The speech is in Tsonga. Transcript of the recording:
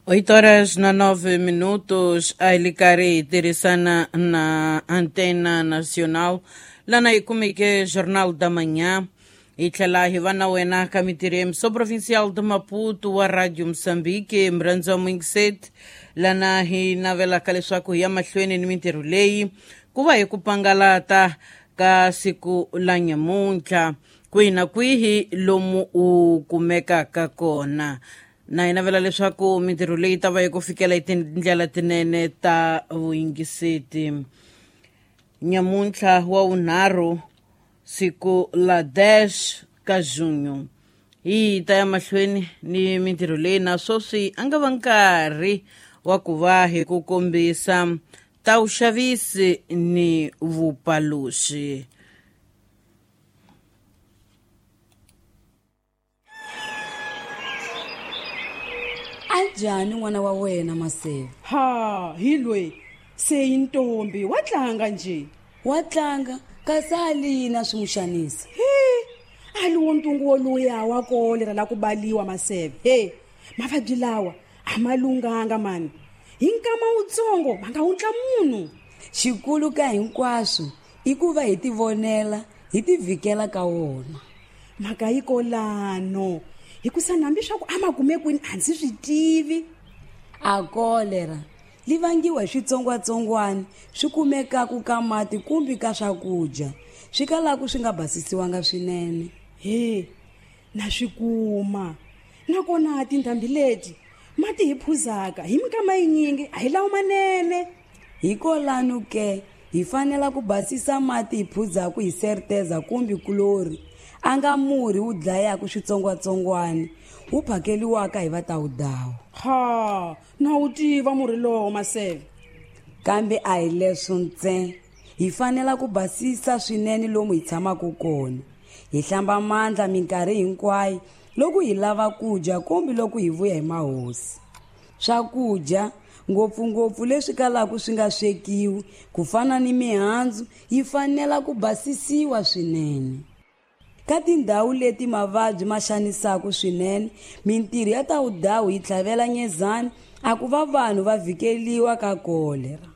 8 horas na 9 minutos, a Ilicari tirhisana na Antena Nacional lana hi kumeke Jornal da Manhã hi tlhela hi va na wena ka mintirho ya Provincial de Maputo wa Radio Moçambique murhandziwa muyingiseti lana hi navelaka leswaku hi ya mahlweni ni mintirho leyi ku va hi ku pangalata ka siku la nyamuntlha kwihi na kwihi lomu u kumekaka kona na hi navela leswaku mintirho leyi ta va yi ku fikela hi tindlela tinene ta vuyingiseti. Nyamuntlha wa vunharhu, siku la 10 ka junho, hi ta ya mahlweni ni mintirho leyi na sweswi a nga va nkarhi wa ku va hi ku kombisa ta vuxavisi ni vupaluxi. Anjhani n'wana wa wena Maseve? Ha, hi loyi se yi ntombi wa tlanga nje. Wa tlanga kasi a lina swi n'wi xanisa. He, a li wo ntungu woluya wa kolera la ku baliwa Maseve. He, mavabyi lawa a ma lunghanga mani, hi nkama wutsongo ma nga wutla munhu. Xikulu ka hinkwaswo i ku va hi tivonela hi tivhikela ka wona. Mhaka yi kolano hikusa hambi swa ku a ma kume kwini a ndzi swi tivi. A kolera li vangiwa hi switsongwatsongwana swi kumekaku ka mati kumbe ka swakudya swi kalaku swi nga basisiwanga swinene. He, na swi kuma nakona tindhambi leti mati hi phuzaka hi minkama yinyingi a hi lawo manene. Hikolano ke hi fanela ku basisa mati hi phuzaku hi serteza kumbe kulori a nga murhi wu dlayaka switsongwatsongwana wu phakeliwaka hi vatawudawu. Ha, na wu tiva murhi lowo Maseve. Kambe a hi leswo ntsena, hi fanela ku basisa swinene lomu hi tshamaka kona, hi hlamba mandla minkarhi hinkwayo loko hi lava ku dya kumbe loko hi vuya hi mahosi. Swakudya ngopfungopfu leswi kalaka swi nga swekiwi ku fana ni mihandzu yi fanela ku basisiwa swinene. Ka tindhawu leti mavabyi ma xanisaka swinene, mintirho ya tawudawu yi tlhavela nyezani a ku va vanhu va vhikeliwa ka kolera.